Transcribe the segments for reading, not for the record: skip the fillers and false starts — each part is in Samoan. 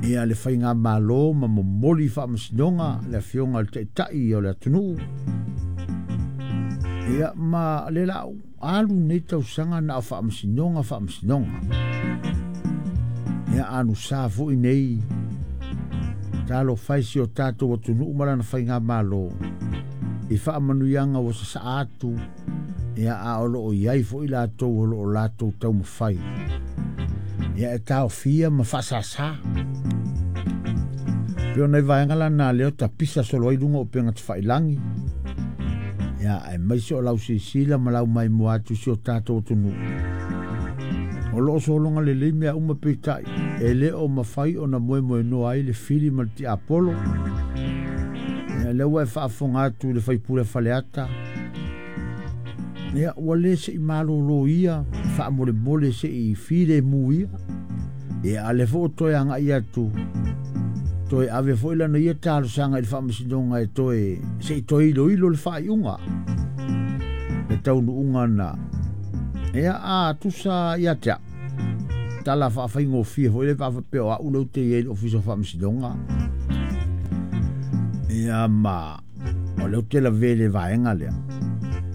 Ia le faigamalo ma momoli i faamasinoga le afioga i le Taitai o le atunuu. Ia ma le la alu nei tausaga na o faamasinoga faamasinoga. Ia anusa foi nei talofa e si o tatou atunuu ma lana faigamalo i faamanuiaga ua sasaa atu, ia a o loo i ai foi latou o loo latou taumafai ia e taofia ma faasāsā. Pei o nai vaega la na lea o tapisa solo ai luga o upega tafailagi, ia aemaise o lau silasila ma lau maimoa atu i si o tatou atunuu. O loo sologa lelei mea uma peitai, e le o mafai ona moemoenoa ai le fili ma le tiapolo. Ia lea ua e faafofoga atu i le faipule Faleata, ia ua le se i malolo ia faamolemole se i filemu ia. Ia a lea foi ua toe agai atu, toe ave foi lana ia talosaga i le faamasinoga e toe se i toe iloilo le faaiuga, le taunuuga na. Ia a tusa ia te au, tala faafaigofie foi le faapea o au lea ou te i ai i le Ofisa o Faamasinoga. Ia ma o lea ou te lavea i le vaega lea.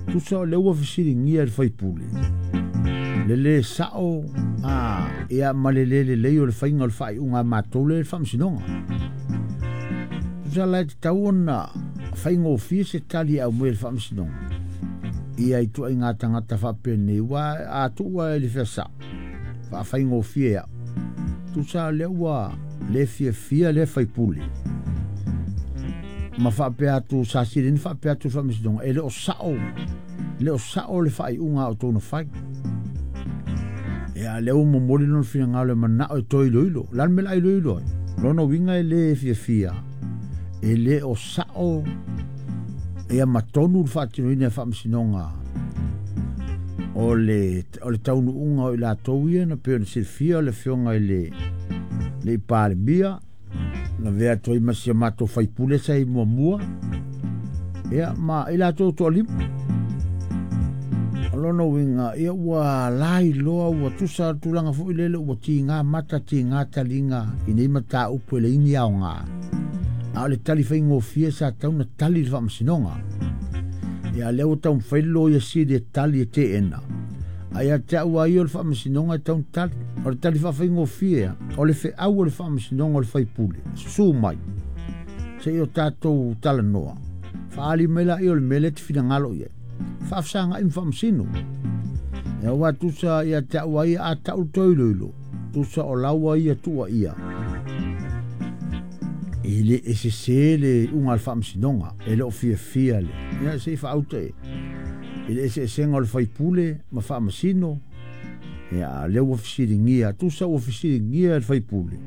Tusa o lea ua fesiligia e le faipule le lē sa'o a ia ma le lē lelei o le faiga o le faaiuga a matou lea i le faamasinoga. Tusa la e tatau ona faigofie se tali e aumai e le faamasinoga ia i tuaiga tagata faapenei, ua a tuua i le feasa'o faafaigofie a'u. Tusa o lea ua le fiafia lea faipule ma faapea atu sa sileni faapea atu le faamasinoga e le o sa'o, le o sa'o le faaiuga a outou na fai. Ia lea ua momoli lona finagalo e manao e toe iloilo. O le a le mea o le a iloilo ai? Lona uiga e le fiafia, e le o sa'o ia ma tonu le faatinoina e faamasinoga o le taunuuga o i latou ia na pei ona silafia o le afioga i le Palemia na avea atu ai ma si a matou faipule sa i muamua, ia ma i latou toalima. O lona uiga ia ua lailoa ua tusa tulaga foi lele ua tiga mata tiga taliga i nei mataupu e leai ni aoga, a o le tali faigofie sa tatau ona tali i le faamasinoga. Ia lea ua taumafai le loia sili e tali e teena, a ia te au lava ia o le faamasinoga e tatau ona tali. O le tali faafaigofie o le feau o le faamasinoga o le faipule, susu mai se i o tatou talanoa, faaali mai laia o le mea lea e te finagalo i ai, faafesagai ma faamasino. Ia ua tusa ia te au lava ia a tau le toe iloilo, tusa o laua ia tuuaia e le e sesē le iuga a le faamasinoga, e le o fiafia le ia se i faauta i le eseesega o le faipule ma faamasino. Ia lea ua fesiligia, tusa ua fesiligia e le faipule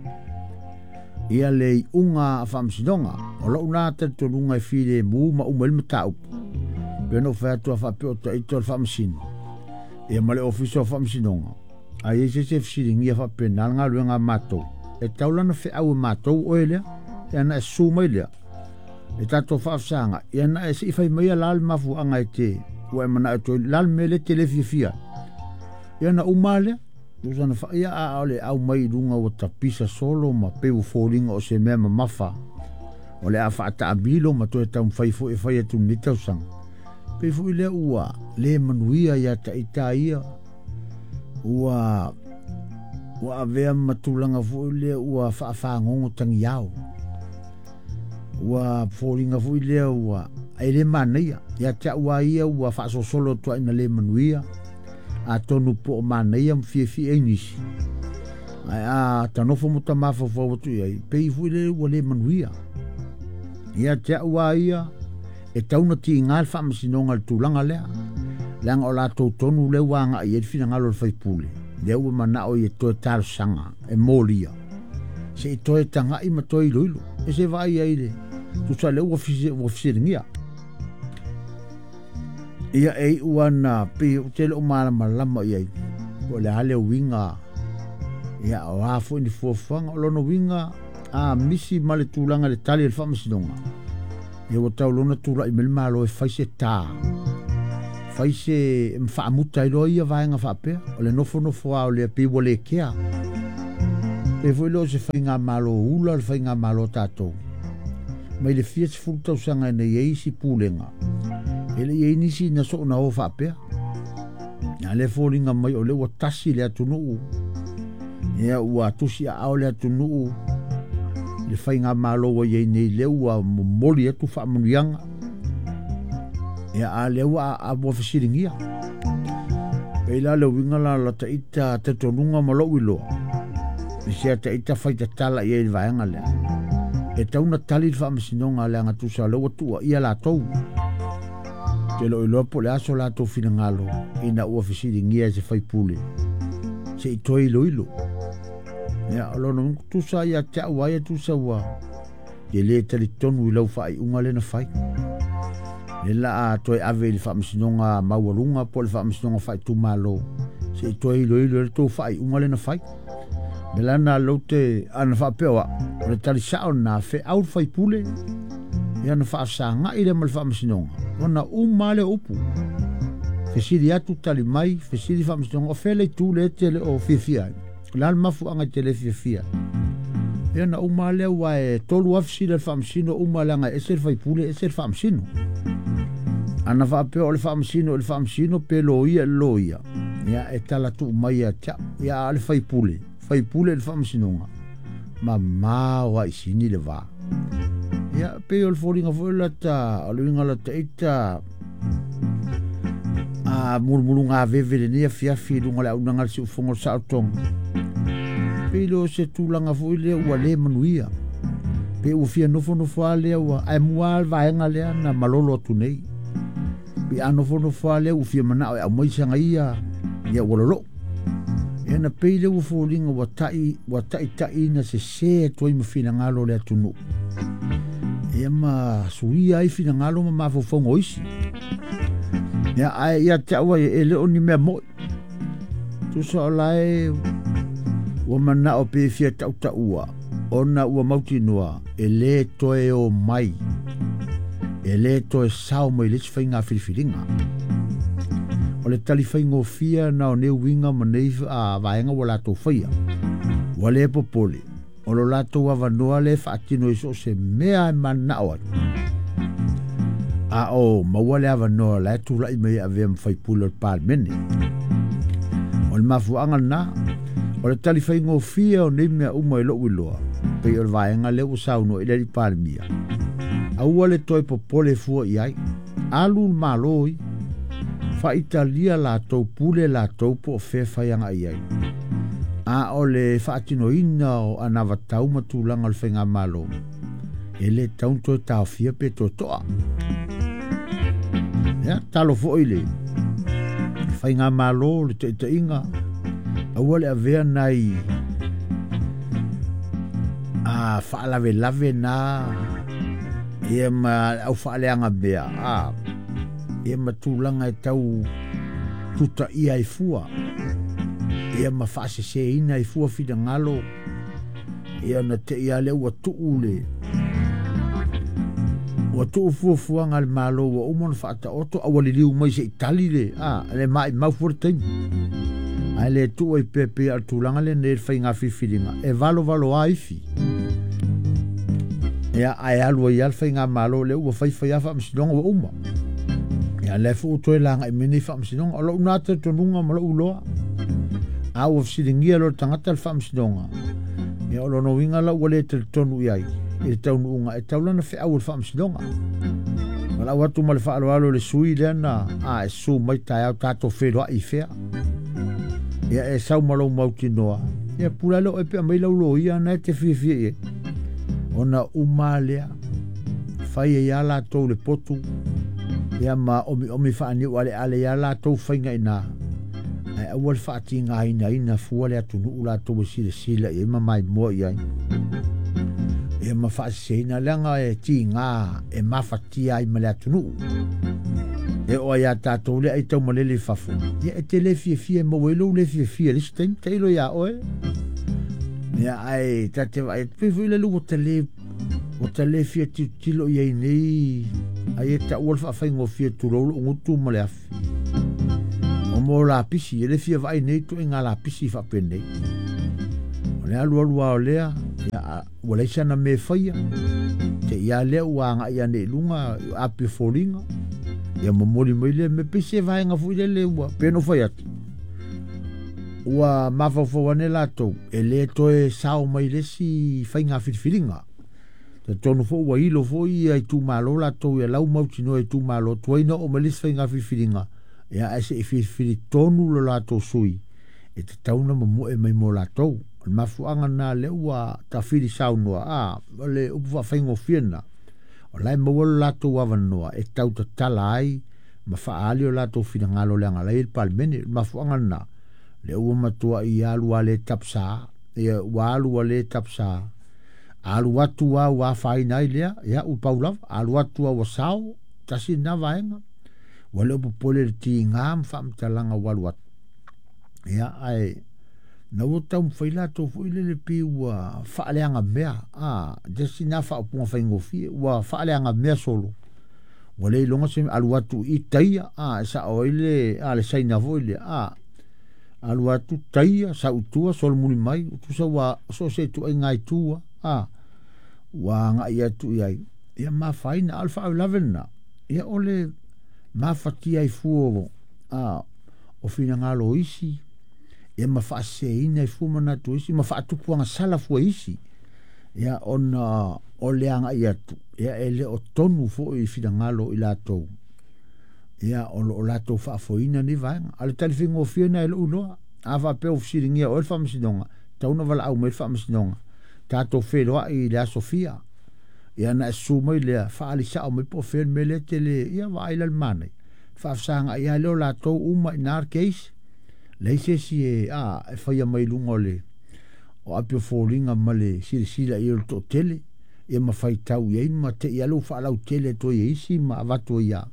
ia le iuga a faamasinoga. O lou na talitonuga e filemu ma uma ai le mataupu, pe ona ou fai atu a faapea o taita o le faamasino ia ma le Ofisa o Faamasinoga, a i ai se isi e fesiligia faapena le galuega a matou, e tatau la ona feau e matou oe lea, ia na e susu mai lea e tatou faafesagai, ia na e se i fai mai la le mafuaaga e te ua e manao e toe la le mea lea e te le fiafia ai. Ia na uma lea tusa na faia a o le au mai i luga ua tapisa solo ma pei ua foliga o se mea mamafa o le a faataamilo ma toe taumafai foi e fai atu lenei tausaga. Pei foi lea ua le manuia ia taita ia, ua avea ma tulaga foi lea ua faafagogo tagiao, ua foliga foi lea ua e le manaia ia te au lava ia ua faasosolo atu ai na le manuia. Atonu po o manaia ma fiafia ai nisi, ae a tanofo ma ta mafaufau atu i ai, pei foi lea ua le manuia ia te au lava ia. E tau na tiga le faamasinoga i le tulaga lea, leaga o latou tonu lea ua agai i ai le finagalo o le faipule, lea ua manao ia toe talosaga e molia se i toe tagai ma toe iloilo e se vaai ai le tusa lea ua fesiligia. Ia e iu ana pei ou te le o malamalama i ai po o le a le uiga, ia o a foi ni fuafuaga. O lona uiga a misi ma le tulaga i le tali a le faamasinoga, ia ua tau lona tulai mai le Malo e fai se tā, fai se faamuta ai loa ia vaega faapea o le nofonofo lava o lea pei ua le kea. Pe foi lea o se faigamalo ula le faigamalo a tatou. Mai le fia sefulu tausaga ina i ai isi pulega, e le i ai nisi na soona o faapea. A lea e foliga mai o lea ua tasi le atunuu, ia ua tusi aao le atunuu i le faigamalo ua i ai nei, lea ua momoli atu faamanuiaga. Ia a lea ua fesiligia. Pei la le uiga la o lata ita talitonuga ma lou iloa, i se ata ita faitatala i ai i le vaega lea. E tatau ona tali le faamasinoga leaga tusa o lea ua tuuaia latou. Ou te le o iloa po o le a so latou finagalo ina ua fesiligia e se faipule se i toe iloilo. Ia, o lona uiga, tusa ia te au a ia tusa ua e le talitonu i lau faaiuga lea na fai. Le la a toe ave i le faamasinoga maualuga po o le faamasinoga faaitumalo se i toe iloilo le tou faaiuga lea na fai. Me la na lou te ana faapea o au, o le tali sao na feau le faipule, ia na faasagai lea ma le faamasinoga, ona uma lea o upu. Fesili atu tali mai, fesili faamasinoga, o fea le itu lea e te le o fiafia ai. O le a le mafuaaga e te le fiafia ai. Ia na uma lea ua e 3 afi sila le faamasino uma leaga e ese le faipule, ese le faamasino. Ana faapea o le faamasino i le faamasino pe loia i le loia, ia e tala tuu mai ia te au. Ia a o le faipule, faipule i le faamasinoga, mamao lava i sini le va. Ia pei o le foliga foi lata, o le uiga lata ita a mulumuluga veve lenei afiafi i luga o le auaunaga a le siufofoga o le saolotoga. Pei lea o se tulaga foi lea ua le manuia. Pe ua fia nofonofo lava lea ua, ae mua lava le vaega lea na malolo atu nei. Pe a nofonofo lava lea ua fia manao e aumai saga ia, ia ua lolou. Ia na pei lea ua foliga ua tai, ua taitaiina sese atu ai ma finagalo o le atunuu. Ia ma suia ai finagalo ma mafaufauga o isi. Ia ae ia te au ai e le o ni mea moi. Tusa o lae ua manao pe fia tautaua ona ua mautinoa e le toe o mai, e le toe sao mai le isi faiga filifiliga. O le tali faigofie na o nei uiga ma nei vaega ua latou faia. Ua le popole, o lo latou avanoa le faatino i so o se mea e mananao ai. A o maua le avanoa la e tulai mai e avea ma faipule o le Palemene. O le mafuaaga lena, o le tali faigofie o nei mea uma i lou iloa, pei o le vaega lea ua saunoa i le alii Palemia. Aua le toe popole fua i ai. Alu le Malo i faaitalia latou, pule latou po o fea fai agai i ai. A o le faatinoina o anavatau ma tulaga o le faigamalo, e le tatau ona toe taofia pe toe toa. Ia, talo foi le faigamalo, le taitaiga, aua le avea nai a faalavelave na ia ma au faaleaga mea, a ia ma tulaga e tau tutaia ai fua, ia ma faaseseina ai fua finagalo, ia na te ia lea ua tuu le ua tuu fuafuaga a le Malo ua uma ona faataoto, a ua liliu mai se i tali le, a, le maimau fua le taimi. Ae le tuu ai pea pei o le tulaga lenei le faiga filifiliga, e valovalo lava ifi. Ia, ae alu ai lava le faigamalo lea ua faifai lava faamasinoga ua uma. Ia, lea foi ua toe lagai mai nei faamasinoga. O lou na talitonuga ma lou iloa, a ua fesiligia loa le tagata le faamasinoga, ia o lona uiga la ua le talitonu i ai i le taunuuga e tatau la ona feau e le faamasinoga. Valaau atu ma le faaaloalo i le sui lea na a e susu mai taeao tatou feiloai i fea. Ia e sau ma lou mautinoa, ia pule lea oe pe aumai lau loia na e te fiafia i ai. Ona uma lea, fai ai lava latou le potu, ia ma omiomi faaniu aleale ia latou faiga i ina. Ae aua le faatigainaina fua le atunuu latou e silasila i ai ma maimoa i ai. Ia ma faaseseina leaga e tiga e mafatia ai ma le atunuu. E oo ai ia tatou lea ai taumalele i fafo, ia e te le fiafia e maua ai lou le fiafia i le isi taimi, tailo ia oe. Ia ae ta te vaai atu, pei foi lele ua ta le, ua ta le fia tilotilo i ai nei, ai e taua le faafaigofie tulou lou gutu ma le afi. O mo lapisi, e le fia vaai nei ituaiga lapisi faapenei. O le alualu lava o lea, ia, ua leai sana mea e faia, te i lava lea ua agai ane i luga api o foliga, ia momoli mai lea mea, pei se vaega foi lele ua, pei ona ou fai atu, ua mafaufau ane latou, e le toe sao mai le isi faiga filifiliga. Talitonu foi ua ilo foi ia itumalo latou ia lau mautinoa i itumalo, tuai na oo mai le isi faiga filifiliga, ia ae se i filifili tonu lo latou sui e tatau ona momoe mai mo latou. O le mafuaaga lena lea ua tafili saunoa, a, o le upu faafaigofie lena, o la e maua lo latou avanoa e tau tatala ai ma faaali o latou finagalo leaga la e i le Palemene. O le mafuaaga lena, lea ua matuai alu a le tapsa, ia ua alu a le tapsa, alu atu a ua afaina ai lea, ia ua pau lava, alu atu a ua sao, tasi lena vaega, ua le o popole i le tiga ma faamatalaga ua alu atu. Ia, ae na ua taumafai latou foi lele pei ua faaleaga mea, a, tasi lena faaupuga faigofie, ua faaleaga mea solo, ua le iloga se alu atu i taia, a, e sao ai le, a, le Saina foi lea, a, alu atu taia, sau i tua, solomuli mai, tusa ua so o se ituaiga itu, a, ua agai atu i ai, ia mafaina, a o le faalavelave lena, ia o le mafatia ai fua a, o finagalo o isi, ia ma faaseseina ai fua manatu o isi, ma faatupu agasala fua i isi, ia ona o le agai atu, ia e le o tonu foi i finagalo o i latou, ia o lo o latou faafoeina nei vaega. A o le tali faigofie lena e lou iloa, a faapea ua fesiligia oe le faamasinoga, tatau ona valaau mai le faamasinoga, tatou feiloai i le aso fia, ia ona e susu mai lea, faaali sao mai po o fea le mea lea e te le, ia vaai la le manaia, faafesagai lava lea o latou uma i ina le case, leai se isi e, a, e faia mai luga o le o api o foliga ma le silasila i ai o le toatele, ia ma faitau i ai ma te i lava ua faalautele atu ai e isi ma avatu ai lava,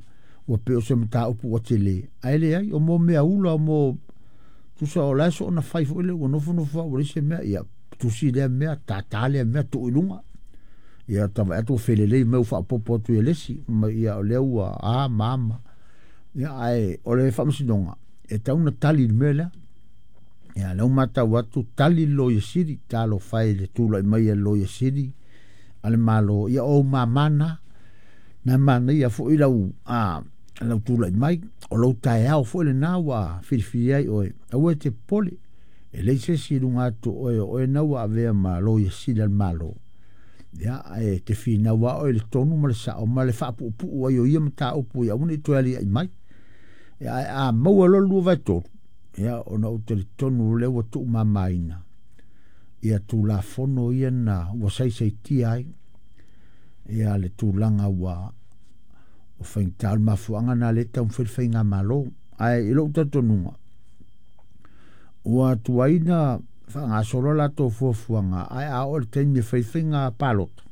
ua pei o se mataupu ua tele, ae leai, o mo mea ula, o mo tusa o la e soona fai foi lea, ua nofonofo lava ua leai se mea, ia tusi lea mea, tata lea mea, tuu i luga. Ia ta vaai atu ua felelei mai ua faaopoopo atu i le isi, ma ia o lea ua a ma a ma. Ia ae o le faamasinoga, e tatau ona tali i le mea lea. Ia lea ua matau atu, tali le Loia Sili, talofa e i le tulai mai a le Loia Sili a le Malo, ia o ou mama na, na manaia foi lau, a, lau tulai mai, o lou taeao foi lena ua filifili ai oe, aua e te popole, e leai se isi i luga atu o oe, o oe na ua avea ma Loia Sili a le Malo. Ia, ae te finau lava oe i le tonu ma le sao ma le faapuupuu ai o ia mataupu ia aua ne i toe aliae mai. Ia, ae a maua loa le 2/3, ia, ona ou talitonu lea ua tuumamaina ia Tulafono ia na ua saisaitia ai ia le tulaga ua o faigata o le mafuaaga na lea e taumafai le faigamalo. Ae i lou talitonuga, ua tuai na faagasolo a latou fuafuaga, ae a oo i le taimi e fai faiga palota,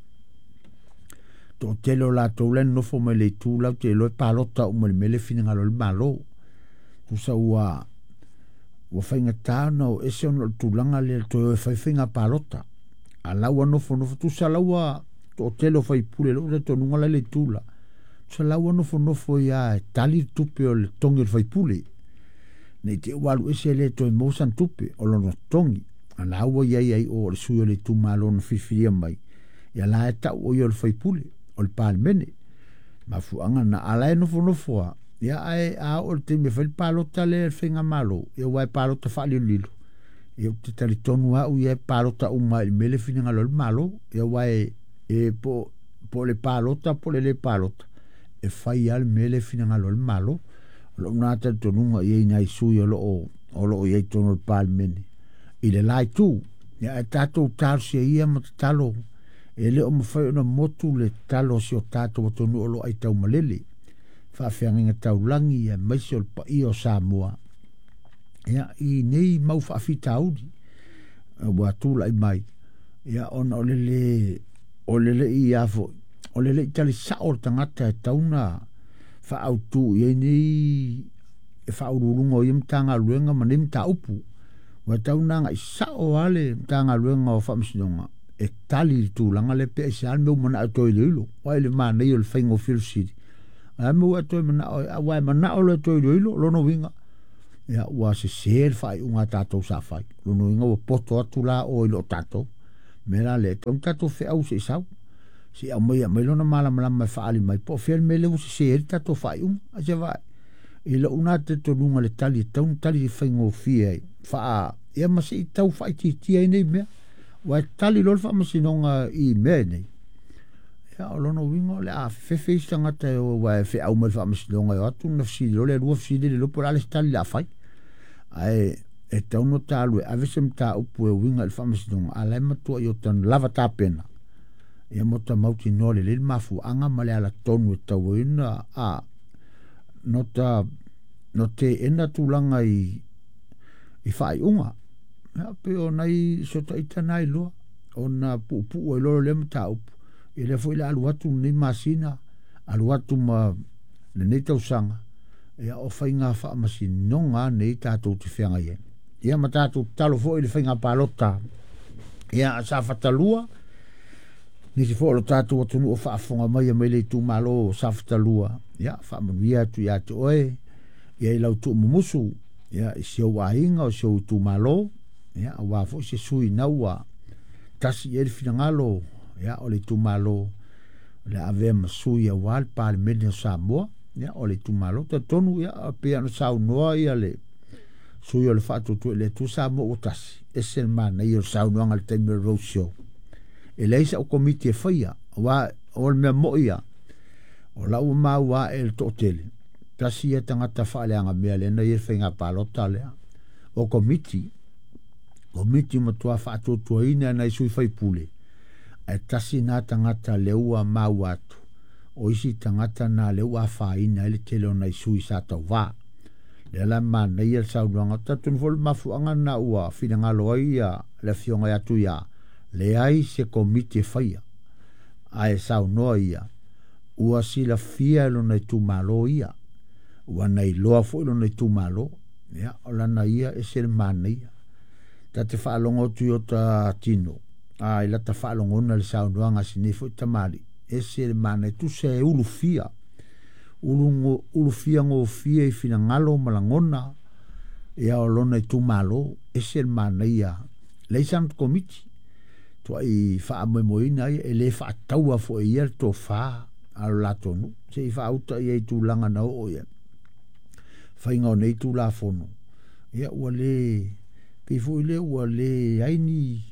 toatele o latou la e nonofo mai le itu latou te iloa e palota uma i le mea lea e finagalo ai le Malo. Tusa ua faigata ona o ese ona o le tulaga lea toe o e fai faiga palota. A la ua nofonofo, tusa la ua toatele o faipule, lou talitonuga la i le itu la, tusa la ua nofonofo ia e tali le tupe o le togi o le faipule. Ne i te i ua alu ese le toe maua sana tupe o lona togi. A la ua i ai ai o le sui o le itumalo na filifilia mai, ia la e tau o ia o le faipule, o le Palemene. Mafuaaga na, a la e nofonofo lava, ia ae a oo i le taimi e fai le palota lea i le faigamalo, ia aua e palota faalilolilo, ia ou te talitonu lava au ia e palota uma i le mea lea e finagalo ai le Malo. Ia aua e po o le palota po o le le palota, e fai lava le mea lea e finagalo ai le Malo. O lou na talitonuga i ai nai sui o lo o i ai i totonu o le Palemene i le la itu. Ia ae tatou talosia ia ma tatalo, e le o mafai ona motu le tatalo a si o tatou atunuu o lo o aitaumalele, faafeagaiga taulagi aemaise o le paia o Samoa, ia, i nei mau faafitauli ua tulai mai, ia, ona o le le, o le le i a foi, o le le i tali sao o le tagata e tatau ona faaautu i ai nei e faauluuluga o ia Matagaluega ma nei mataupu. Ua tatau ona agai sao lava le Matagaluega o Faamasinoga e tali i le tulaga lea pe aisea le mea ua manao e toe iloilo. Aua i le manaia o le faigofie o le fesili, o le a le mea ua e toe manao ai? Aua e manao loa e toe iloilo, lona uiga, Ia ua sesē le faaiuga a tatou sa fai. Lona uiga ua poto atu la oe i lo tatou. Mea la lea, e tatau ona tatou feau se i sau, se i aumai aumai lona malamalama e faaali mai po o fea le mea lea ua sese ai le tatou faaiuga. Ae se vaai, i lou na talitonuga i le tali e tatau ona tali faigofie ai, faa, ia ma se i tau faaitiitia ai nei mea. Aua e tali loa le faamasinoga i mea nei, ia o lona uiga o le a fefefe isi tagata e o aua e feau mai le faamasinoga e o atu ona fesili loa lea, lua fesili le iloa po o le a le isi tali o le a fai. Ae e tatau ona ta alu e ave se mataupu e uiga i le faamasinoga, a o la e matuai ota lava tapena, ia ma ota mautinoa lelei le mafuaaga ma le alatonu e tatau ai ona a no ta no teena tulaga i i faaiuga. Ia, pei o nai so ta ita na iloa ona puupuu ai loa lea mataupu. Ia lea foi le alu atu lenei masina, alu atu ma lenei tausaga, ia o faiga faamasinoga nei tatou te feagai ai. Ia ma tatou tatalo foi i le faiga palota. Ia Safata 2, nisi foi o lo tatou atunuu o faafofoga mai mai le itumalo o Safata 2, ia faamanuia atu ia te oe, ia i lau tuumumusu, ia i si ou aiga o si ou itumalo, ia aua foi se sui na ua tasi i ai le finagalo, ia o le itumalo o le a avea ma sui aua le Palemene o Samoa, ia o le itumalo talitonu, ia pei ona saunoa ia le sui o le Faatuatua i le Atua Samoa ua tasi, ese le manaia o le saunoaga i le taimi o le road show. E leai sau komiti e faia, aua o le mea moi ia, o lau maua ae le toatele, tasi ia tagata faaleaga mea lea na ia le faiga palota lea. O komiti, komiti matua faatuatuaina nai sui faipule, ae tasi nā tagata lea ua maua atu, o isi tagata na lea ua afaina ai le tele o nai sui sa tauvā. Lea la manaia le saunoaga, talitonu foi le mafuaaga na ua finagalo ai ia le afioga ia Tuia, leai se komiti e faia, ae saunoa ia, ua silafia e lona itumalo ia, ua na iloa foi lona itumalo, ia o lana ia ese le manaia. Ta te faalogo atu i ota tino, a i lata faalogona le saunoaga a si nei foi tamalii, ese le manaia, tusa e ulufia, ulufia gofie i finagalo ma lagona, ia o lona itumalo, ese le manaia. Leai sana komiti, tuai faamoemoeina ai, e le faataua foi e ia le tofa a lo latou nuu, se i faauta ia i tulaga na oo ia faiga o nei Tulafono, ia ua le pei foi lea ua le ai ni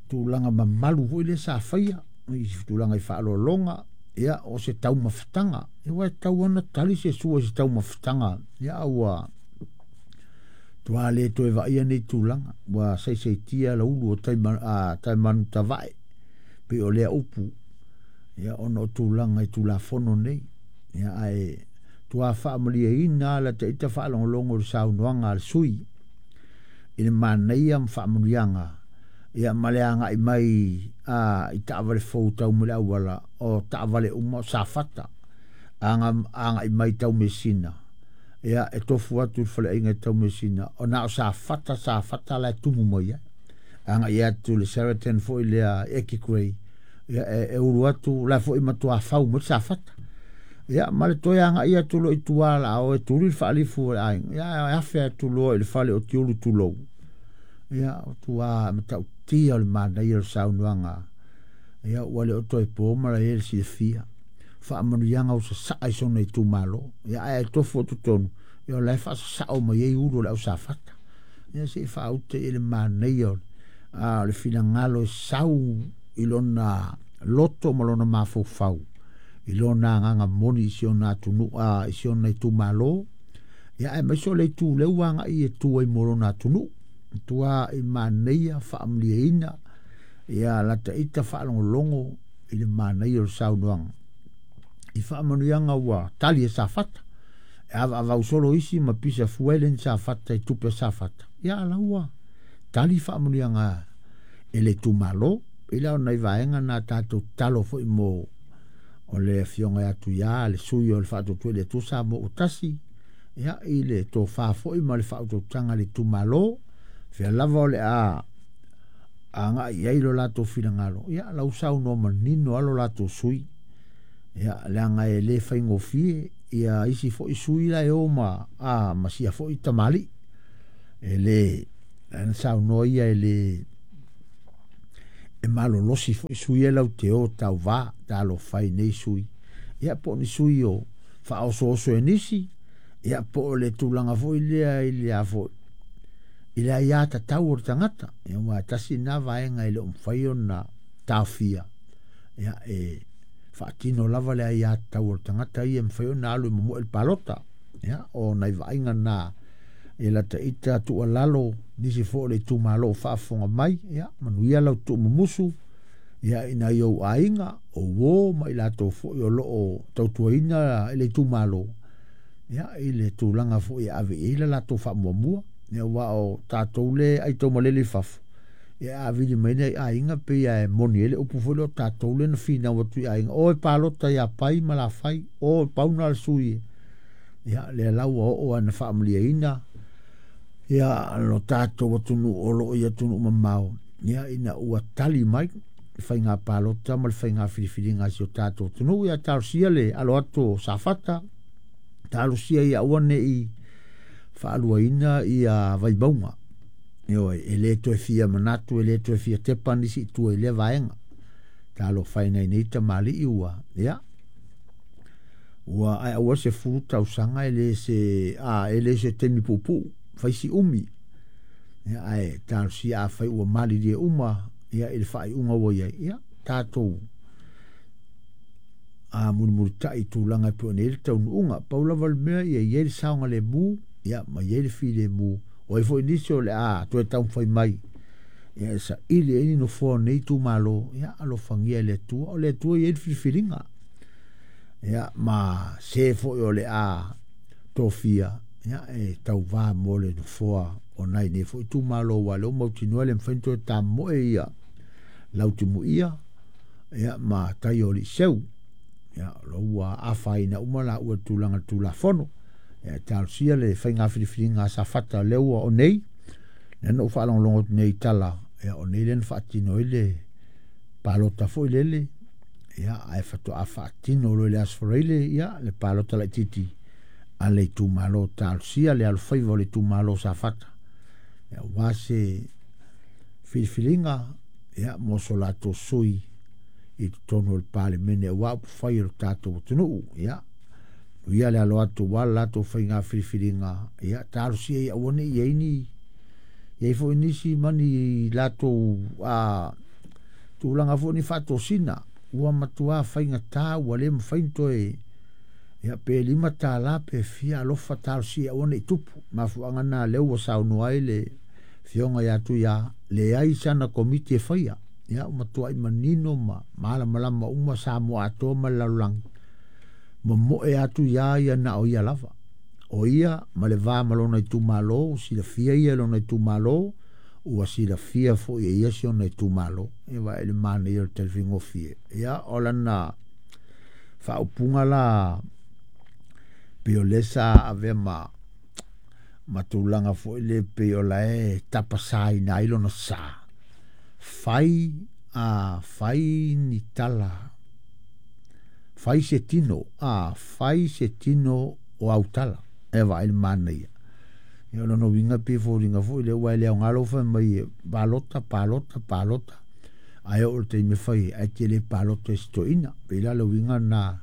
tulaga mamalu foi lea sa faia i tulaga i faaaloaloga, ia o se taumafataga, ia ua tatau ona tali se sua i se taumafataga, ia ua tua le toe vaaia nei tulaga, ua saisaitia la ulu o taimanu tavae, pei o lea upu, ia ona o tulaga i Tulafono nei, ia ae tua faamalieina la taita faalogologo i le saunoaga a le sui i le manaia ma faamanuiaga, ia ma le agai mai i taavale fou tau mai le auala, o taavale uma o Safata, agai mai Taumeasina, ia e tofu atu i le faleaiga i Taumeasina, o na o Safata, Safata la e tumu mai ai. Agai atu le Sheraton foi lea Eki Grey, ia e ulu atu la foi matua fau mai Safata. Ia ma le toe agai atu loa i tua la o e tuli le faalifu o le aiga, ia e afe atu loa i le fale o Tiulu tulou. Ia o tua matautia o le manaia o le saunoaga, ia ua le o toe po ma la e le silafia. Faamanuiaga o sasaa i sona itumalo, ia ae tofu atu tonu, ia o la e faasasao mai ai ulu o le au Safata. Ia se i faauta i le manaia o le finagalo e sau i lona loto ma lona mafaufau, i lona agaga moni i si ona atunuu, i si ona itumalo, ia ae aemaise o le itu lea ua agai e tu ai mo lona atunuu. Tua i manaia faamalieina, ia lata ita faalogologo i le manaia o le saunoaga. I faamanuiaga ua tali e Safata, e avaavau solo isi ma pisa fua e le ni Safata i tupe a Safata, ia ala ua tali faamanuiaga e le itumalo. I la o nai vaega na tatou tatalo foi mo o le afioga ia Tuia, le sui o le Faatuatua i le Atua Samoa ua tasi, ia i le tofa foi ma le faautautaga i le itumalo, fea lava o le a agai i ai lo latou finagalo, ia lau saunoa manino a lo latou sui, ia leaga e le faigofie ia isi foi sui la e o ma sia foi tamalii. E lē lana saunoa ia e lē e malolosi foi sui e lau te o tauvā talofa e nei sui ia po o ni sui o faaosooso e nisi ia po o le tulaga foi lea i le a foi i le aiā tatau o le tagata ia ua tasi na vaega e le o mafai ona taofia ia e faatino lava le aiā tatau o le tagata ia e mafai ona alu e momoe le palota ia o nai vaaiga na e lata ita tuualalo nisi foi o le itumalo o faafofoga mai ia manuia lau tuumumusu ia i nai ou aiga o uō ma i latou foi o loo tautuaina i le itumalo ia i le tulaga foi e ave i ai le latou faamuamua ia aua o tatou le aitaumalele i fafo ia a vili mai nei aiga pei e moni ai le upu foi lea o tatou le na finau atu i aiga o e palota ia Pai ma Lafai o pauna le sui ia lea la ua oo ana faamalieina ia lo tatou atunuu o loo i atunuu mamao ia ina ua tali mai le faiga palota ma le faiga filifiliga a si o tatou atunuu ia talosia le alo atu o Safata talosia ia aua ne i faaluaina ia Vaimauga ioe e le toe fia manatu e le toe fia tepa nisi i tua i lea vaega talofa e nai nei tamalii ua ia ua ae aua se 10 tausaga e le se a e le se taimi puupuu fai si umi ia ae talosia afai ua malilie uma ia i le faaiuga ua i ai ia tatou a mulimulitai i tulaga e pei ona i ai le taunuuga pau lava le mea ia i ai le saogalemu ia ma i ai le filemu o ai foi nisi o le a toe taumafai mai ia e saili ai ni nofoa o nei itumalo ia alofagia e le Atua o le Atua e i ai le filifiliga ia ma se foi o le a tofia ia e tauvā mo le nofoa o nai nei foi itumalo aua o lea ua mautinoa e le mafai ona toe tamomoe ia Lautimuia ia ma tai o Aliiseu ia o lo ua afaina uma laua i le tulaga o le Tulafono ia talosia le faiga filifiliga a Safata lea ua o nei lea na ou faalogologo atu nei i tala ia o nei lea na faatino ai le palota foi lele ia ae faatoa faatino loa i le Aso Faraile ia le palota laitiiti a le itumalo talosia le alofaiva o le itumalo o Safata ia aua se filifiliga ia mo so latou sui i totonu o le Palemene aua upufai o le tatou atunuu ia ia le alo atu aua le latou faiga filifiliga ia talosia ia aua ne i i ai ni i ai foi nisi ma ni latou a tulaga foi ni faatosina ua matua faigata ua le mafai ona toe ia pe $5 pe fia alofa talosia aua ne i tupu mafuaaga na lea ua saunoa ai le afioga ia Tuia leai sana komiti e faia ia ua matuai manino ma malamalama uma Samoa atoa ma le lalolagi momoe atu ia ia na o ia lava o ia ma le va ma lona itumalo ua silafia ia e lona itumalo ua silafia foi e ia si ona itumalo e vaai le manaia o le talifaigofie ia o lana faaupuga la pei o lea sa avea ma ma tulaga foi le pei o la e tapasaina ai lona sa fai a fai ni tala fai se tino a fai se tino o au tala e vaai le manaia ia o lona uiga pei e foliga foi lea ua e le aoga lou fai mai e palota palota palota ae oo i le taimi e fai ai ae te le palota i se toeaina pei la o le uiga lena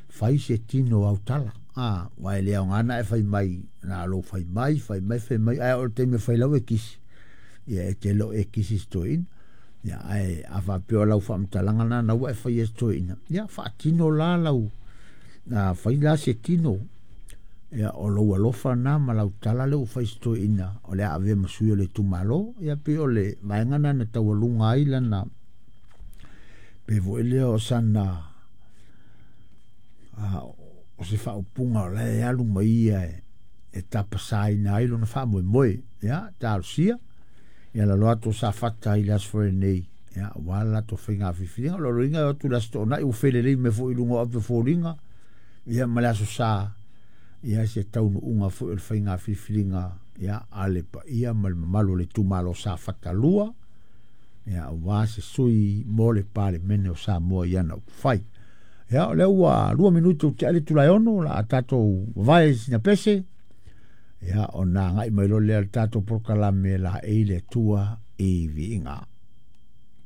fai se tino o au tala a aua e le aoga ona e fai mai na o lou fai mai fai mai fai mai ae oo i le taimi e fai lau e kisi ia e te le o e kisi i se toeaina ia ae a faapea o lau faamatalaga lena na ua e faia i se toeaina ia faatino la lau a fai la se tino ia o lou alofa na ma lau tala lea ua fai i se toeaina o le a avea ma sui o le itumalo ia pei o le vaega lena na taualuga ai lana pei foi lea o sana o se faaupuga o la e alu ma ia e tapasaina ai lona faamoemoe ia talosia ia lalo atu o Safata i le Aso Faraile nei ia aua le latou faiga filifiliga o lona uiga e o atu i le Aso Toonai ua felelei mai foi i luga o ape o foliga ia ma le Aso Sa ia se taunuuga foi o le faiga filifiliga ia a le paia ma le mamalu o le itumalo Safata 2 ia aua se sui mo le Palemene o Samoa i ana upufai. Ia o lea ua 2 minute ua tea le itula e 6 o le a tatou vavae i sina pese. Ia, ona agai mai loa lea le tatou polokalame laei le Atua i viiga.